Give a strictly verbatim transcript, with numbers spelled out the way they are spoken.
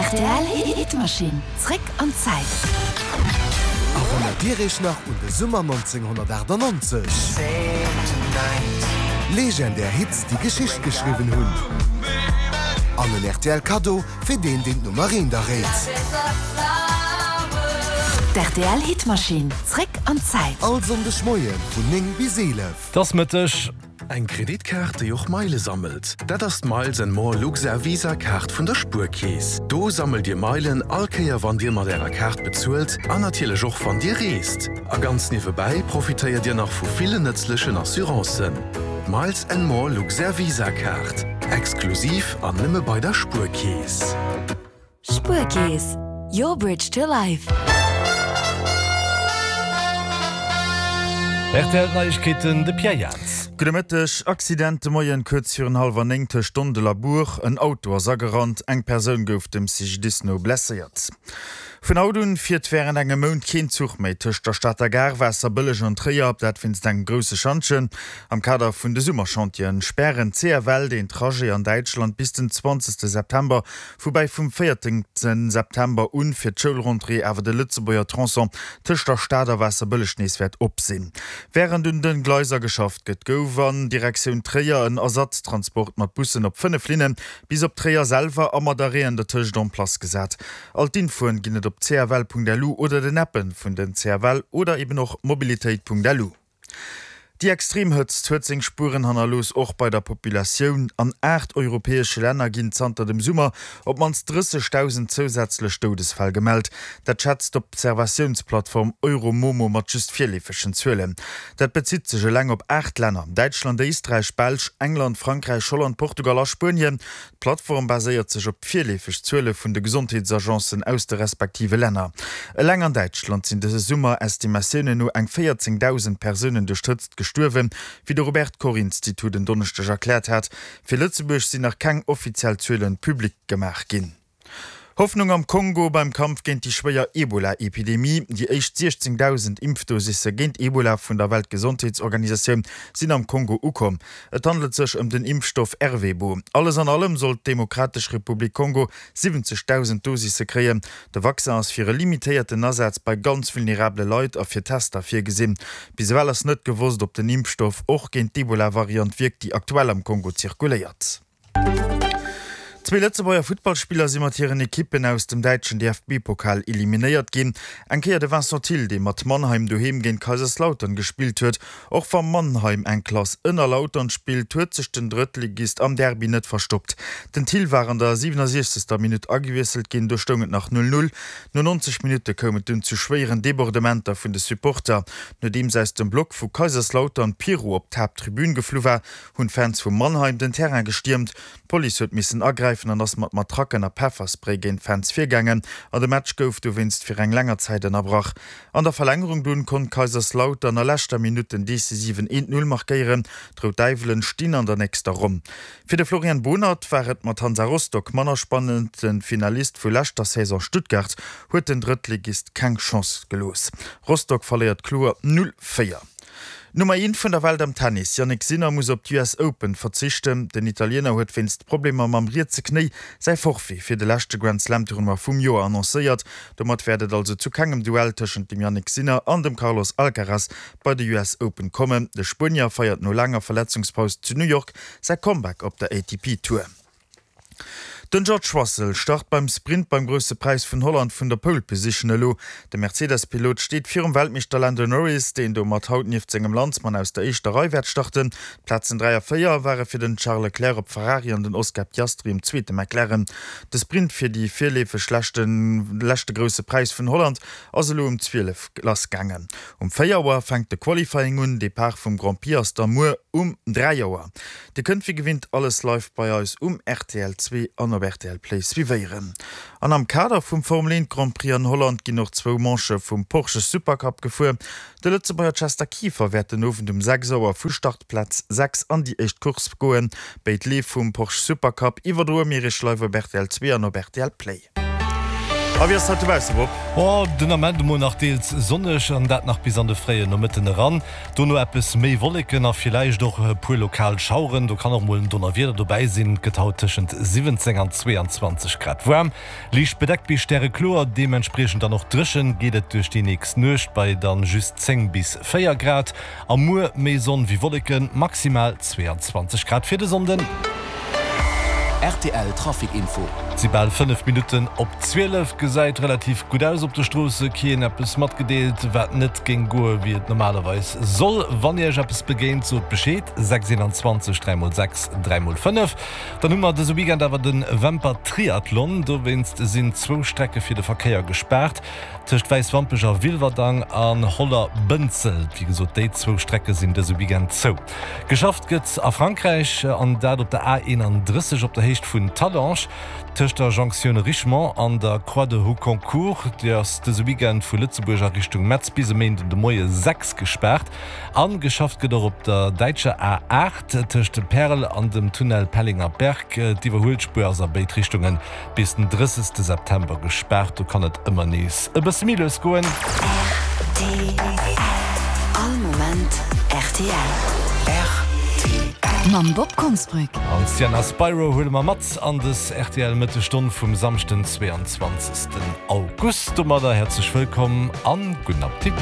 D'RTL Hitmaschinn, zréck an d'Zäit. Erënnert Dir Iech nach un de Summer nonzénghonnertaachtannonzeg? Legendär Hits, déi Geschicht geschriwwen hunn. An en R T L Kaddo fir deen, deen d'Nummer eent erréit. D'R T L Hitmaschinn, zréck an d'Zäit. All Sonndeg Moie vun néng bis eelef. 't ass Mëtteg. Eng Kreditkaart, déi och Meile sammelt? Dat ass d'Miles and More Luxair Visa Kaart vun der Spuerkeess. Do sammelt Dir Meilen all Kéier wann Dir mat Ärer Kaart bezuelt an natierlech och wann Dir reest. A ganz niewebäi profitéiert Dir nach vu villen nëtzlechen Assurancen. Miles and More Luxair Visa Kaart. Exklusiv an nëmme bei der Spuerkeess. Spuerkeess, your bridge to life. R T L Neiegkeeten, de Pierre Jans. Gudde Mëtteg. Accident de Moien kuerz virun hallwer néng tëscht Dondel a Buer. En Auto ass agerannt, eng Persoun gouf dem C G D I S no blesséiert. Vun haut un fiert wärend engem Mount keen Zuch méi tëscht der Stater Gare, Waasserbëlleg an Tréier, dat wéinst engem grousse Schantjen. Am Kader vun de Summerchantieren spären C F L den Trajet an Däitschland bis den zwanzegste September, woubäi vum véierzehnte September un fir d'Schoulrentrée awer de Lëtzebuerger Tronçon tëscht der Stad a Waasserbëlleg nees wäert op sinn. Wärend un den Gleiser geschafft gëtt, gouf an Direktioun Tréier en Ersatztransport mat Bussen op fënnef Linne bis op Tréier selwer a mat Arrêten dertëscht en place gesat. All d'Infoen ginn et op C F L Punkt L U oder den Appen vun den C F L oder eben och mobilitéit Punkt L U. Déi extrem Hëtzt huet seng Spueren hannerlooss, och bei der Populatioun. An aacht europäesche Länner ginn zanter dem Summer op d'mannst drëssegdausend zousätzlech Doudesfäll gemellt. Dat schätzt d'Observatiounsplattform Euromomo mat just virleefegen Zuelen. Dat bezitt sech eleng op aacht Länner, Däitschland, Éisträich, Belsch, England, Frankräich, Holland, Portugal a Spuenien. D'Plattform baséiert sech op virleefeg Zuele vun de Gesondheetsagencen aus de respektive Länner. Eleng an Däitschland sinn dëse Summer Estimatiounen no eng véierzéngdausend Persounen duerch d'Hëtzt gestuerwen, wéi de Robert Koch Institut en Donneschdeg erkläert hat. Fir Lëtzebuerg sinn nach keng offiziell Zuelen publik gemaach ginn. Hoffnung am Kongo beim Kampf géint déi schwéier Ebola-Epidemie. Déi éischt siechzéngdausend Impfdosisse géint Ebola vun der Weltgesondheetsorganisatioun sinn am Kongo ukomm. Et handelt sech ëm den Impfstoff Ervebo. Alles an allem soll d'Demokratesch Republik Kongo siwwenzegdausend Dosisse kréien. De Vaccin ass fir e limitéierten Asaz bei ganz vulnerabele Leit a fir Tester virgesinn. Bis ewell ass net gewosst, ob den Impfstoff och géint d'Ebola-Variant wierkt, déi aktuell am Kongo zirkuléiert. Zwee Lëtzebuerger Futtballspiller si mat hiren Ekippen aus dem däitschen D F B-Pokal eliminéiert ginn. Eng Kéier de Vincent Thill, dee mat Mannheim doheem géint Kaiserslautern gespillt huet. Och wa Mannheim eng Klass ënner Lautern spillt, huet sech den Drëttligist am Derby net verstoppt. Den Thill war an der siwenundsechzegster Minutt agewiesselt ginn, do stoung et nach null null. No neunzeg Minutte koum et dunn zu schwéieren Debordementer vun de Supporter. Nodeems aus dem Block vu Kaiserslautern Pyro op d'Haapttribün geflu war, hunn d'Fans vu Mannheim den Terrain gestiermt. D'Police huet missen agräifen an ass mat Matracken a Pefferspray géint d'Fans virgaangen an de Match gouf dowéinst fir eng länger Zäit ënnerbrach. An der Verlängerung dunn konnt Kaiserslautern a leschter Minutt den decisiven eent null markéieren. D'Rout Däiwelen stinn an der nächster Ronn. Fir de Florian Bohnert war et mat Hansa Rostock manner spannend. De Finalist vu leschter Saison Stuttgart huet den Drëttligist keng Chance gelooss. Rostock verléiert kloer null véier. Nummer eent vun der Welt am Tennis, Jannik Sinner, muss op d'U S Open verzichten. Den Italiener huet wéinst Problemer mam rietse Knéi säi Forfait fir de leschte Grand Slam Tournoi vum Joer annoncéiert. Domat wäert et also zu kengem Duell tëschent dem Jannik Sinner an dem Carlos Alcaraz bei de U S Open kommen. De Spuenier feiert no laanger Verletzungspaus zu New York säi Comeback op der A T P Tour. Den George Russell start beim Sprint beim Grousse Präis vun Holland vun der Pole Position elo. De Mercedes-Pilot steet virum Weltmeeschter Lando Norris, deen domat haut nieft sengem Landsmann aus der éischter Rei wäert starten. D'Plazen dräi a véier ware fir den Charles Leclerc op Ferrari an den Oscar Piastri um zweete McLaren. De Sprint fir déi virleefeg leschte Grousse Präis vun Holland ass elo um zwielef lassgaangen. Um véier Auer fänkt de Qualifying un, Depart vum Grand Prix ass da muer um dräi Auer. Dir kënnt wéi gewinnt alles live bei eis um R T L zwee an op R T L Play suivéieren. An am Kader vum Formel eent Grand Prix an Holland ginn och zwou Manchë vum Porsche Supercup gefuer. De Lëtzebuerger Chester Kieffer wäert den Owend um sechs Auer vu Startplaz sechs an déi éischt Course goen. Béid Leef vum Porsche Supercup iwwerdroe mir iech live op R T L zwee an op R T L Play. A wéi ass et haut dobausse, Bob? Oh, den Ament emol nach deels sonneg, an dat nach bis an de fréien Nomëtten eran. Dono eppes méi Wolleken a villäicht och e puer lokal Schaueren. Do kann och mol en Donnerwieder dobäi sinn. Et gëtt haut tëschent siwwenzéng an zweeanzwanzeg Grad waarm. Liicht bedeckt bis stärekloer, deementspriechend dann och dréchen geet et duerch déi nächst Nuecht bei dann just zéng bis véier Grad. A muer méi Sonn wéi Wolleken, maximal zweeanzwanzeg Grad fir de Sonnden. Rtl Trafic Info. Et si bal fënnef Minutten op zwielef. Gesäit relativ gutt aus op de Stroosse. Keen eppes matgedeelt, wat net géing goe wéi et normalerweis soll. Wann Iech eppes begéint, sot Bescheed, sechs eenanzwanzeg dräi mol sechs dräi mol fënnef. Dann hu mer dëse Weekend awer de Wämper Triathlon. Dowéinst sinn zwou Strecke fir de Verkéier gespaart, tëscht Wäiswampech a Wilwerdang an Holler-Bënzel. Wéi gesot, déi zwou Strecke sinn dëse Weekend zou. Geschafft gëtt a Frankräich, an dat op der A eenanddrësseg op der Héicht vun Talange, tëscht der Jonktioun Richemont an der Croix de Houconcourt. Déi ass dëse Weekend vu Lëtzebuerg a Richtung Metz bis e Méinden de Moie sechs gespaart. A geschafft gëtt och op der däitscher A aacht tëscht Perl an dem Tunnel Pellinger Berg. D'Iwwerhuelspuer ass a béid Richtunge bis den drëssegste September gespaart. Do kann et ëmmer nees e bësse méi lues goen. Rtl, All Moment rtl. Rtl. Mam Bob Konsbrück. An d'Sienna Spiro huele mer mat an dës rtl Mëttesstonn vum Samschden zweeanzwanzegsten August. Domadder häerzlech wëllkomm an gudden Appetit.